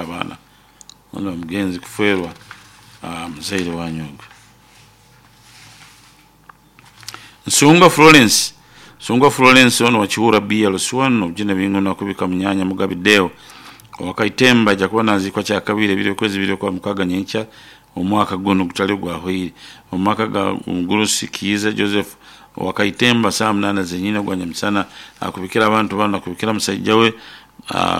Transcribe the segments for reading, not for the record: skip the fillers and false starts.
Abaana ono omugenzi kufeerwa muzaire wanyu ogu. Nsungwa Florence Nsungwa Florence ono wa Kihura BLC1 obujune binguna kubika munyanya Mugabi Deo owa Kaitemba aja kuba naziikwa kyakabiri ebiro okwezi ibiri okwamukaaga nyenkya omwaka gunu ogutali ogwahweire omu maka ga omugurusi Kiiza Joseph owa Kaitemba saawa munaana zenyini ogwa nyamusana akubikira abantu banu akubikira musaija we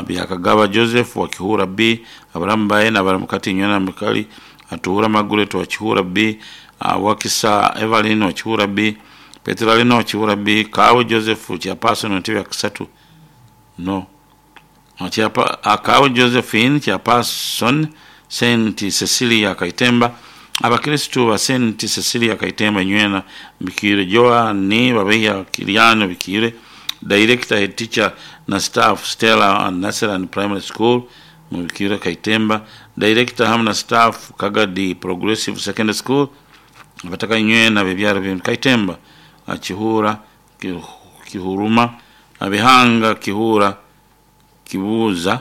Byakagaba Joseph wa Kihura B, abaramu baye nabaramukati inywena Mukali, Atuura Margaret wa Kihura B, Wakisa Evelyn wa Kihura B, Petero Alina wa Kihura B, Kaawe Joseph chairperson wa ntebe ya kasatu no Kaawe Josephine chairperson St Cecilia Kaitemba, abakristu ba St Cecilia Kaitemba inywena Bikiire Joan Babeiha Kiriano Bikiire, Director head teacher na staff Stella and Naseran Primary School mu Bikiire Kaitemba, Director hamu na staff Kagadi Progressive Secondary School, abataka inywena abebyaro bya Kaitemba, Kihura, Kihuruma, Bihanga, Kihura, Kibuuza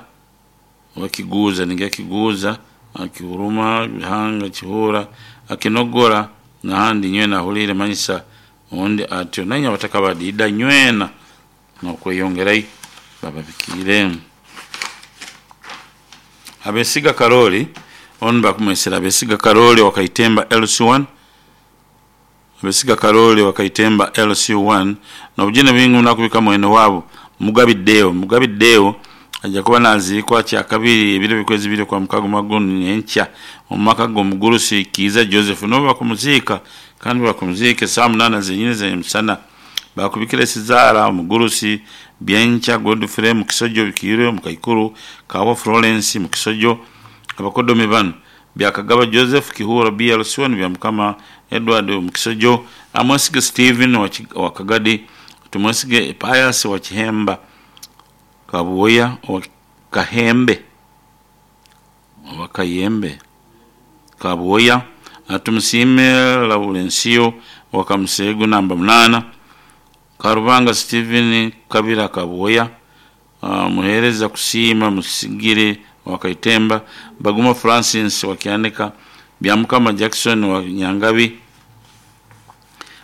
oba Kiguuza ningira Kiguuza, Kihuruma, Bihanga, Kihura, Kinogora n'ahandi nywena ahuliire manyisa ondi atyo nainywe abataka badiida nywena n'okweyongerayo bababikiire. Abesiga Karoli onu bakumwesere Abesiga Karoli owa Kaitemba LC1 Abesiga Karoli owa Kaitemba LC1 n'obujune bwingi muno akubika mwene waabo Mugabi Deo. Mugabi Deo aja kuba naziikwa kyakabiri ebiro byokwezi ibiri okwamukaaga omwaka gunu nyenkya omu maka g'omugurusi Kiiza Joseph nibo bakumuziika kandi bakumuziika esaawa munaana zenyini ez'emisana. Bakubikira esizaara omugurusi Byenkya Godfrey Mukisojo Bikiire omukaikuru Kawa Florence Mukisojo. Abakodomi banu Byakagaba Joseph Kihura BLC1 Byamukama Edward Mukisojo, Amwesige Stephen wa Kagadi, Tumwesige Pius wa Kihemba Kabuya owa Kahembe oba Kayembe Kabuya, Tumusiime Laurensiyo owa Kamuseegu namba munaana, Karubanga Stephen Kabira Kabuya, Muheereza Kusiima Musigire owa Kaitemba, Baguma Francis wa Kyanika, Byamukama Jackson wa Nyangabi,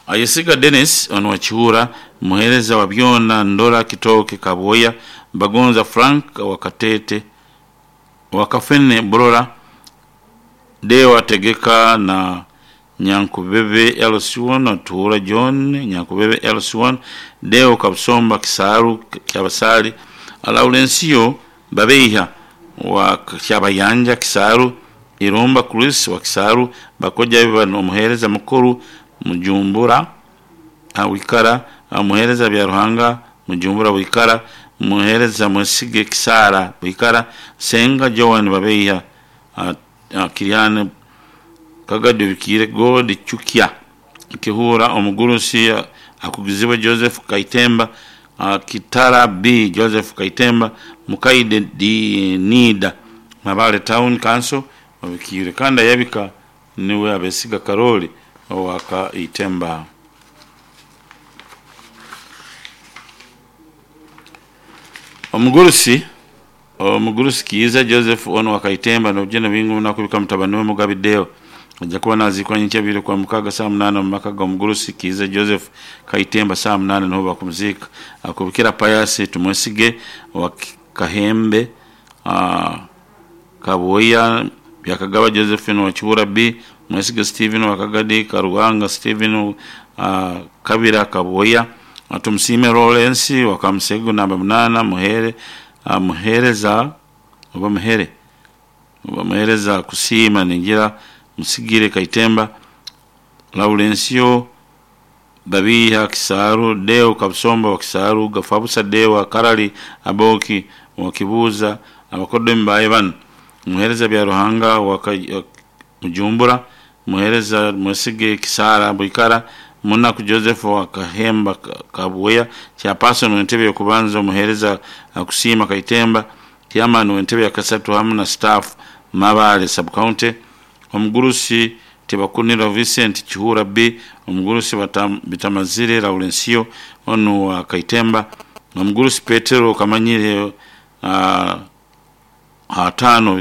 Ayesiga Dennis ono wa Kihura, Muheereza wa Byona Ndora Kitooke Kabuya, Bagonza Frank wa Katete wa Kafene Burora, Deo Ategeka na Nyankubebe LC1 Atuura John Nyankubebe LC1 Deo Kabusomba Kisaaru Kyabasaali, Laurensiyo Babeiha wa Kyabayanja Kisaaru, Irumba Chris wa Kisaaru, Bakoja bano omuheereza mukuru Mujumbura Wikara, Muheereza Byaruhanga Mujumbura Wikara, Muheereza Mwesige Kisaara Wikara, Senga Joan Babeiha Kiriane Kagadi Bikiire God Chukya Kihura omugurusi akugizibwe Joseph Kaitemba, Kitara B Joseph Kaitemba, Mukaide D Nida Mabale Town Council Obikiire kandi ayabika niwe Abesiga Karoli owa Kaitemba. Omugurusi Kiiza Joseph ono wa Kaitemba n'obujune bwingi muno akubika mutabani we Mugabi Deo aja kuba naziikwa nyenkya ibiri okwamukaaga saawa munaana omu maka g'omugurusi Kiiza Joseph Kaitemba saawa munaana niho bakumuziika. Akubikira Pius Tumwesige owa Kahembe Kabuya, Byakagaba Josephine wa Kihura B, Mwesige Stephen wa Kagadi, Karuhanga Stephen Kabira Kabuya, Tumusiime Lawrence wa Kamusegu namba munaana, Muhere Muheereza oba Muhere oba Muheereza Kusiima ningira Musigire Kaitemba, Laurensiyo Babiiha Kisaaru, Deo Kabusomba wa Kisaaru, Gafabusa Deo wa Karali, Aboki wa Kibuuza, abakodomi baye banu Muheereza Byaruhanga wa Mujumbura, Muheereza Mwesige Kisaara Bwikara, Munaku Joseph wa Kahemba Kabuya, chairperson w'entebe y'okubanza Omuheereza Kusiima Kaitemba, chairman w'entebe ya kasatu hamu na staff Mabale sub-county, omugurusi Tibakunira Vincent Kihura B, omugurusi Bitamazire Laurensiyo onu wa Kaitemba, omugurusi Petero Kamanyire hatano.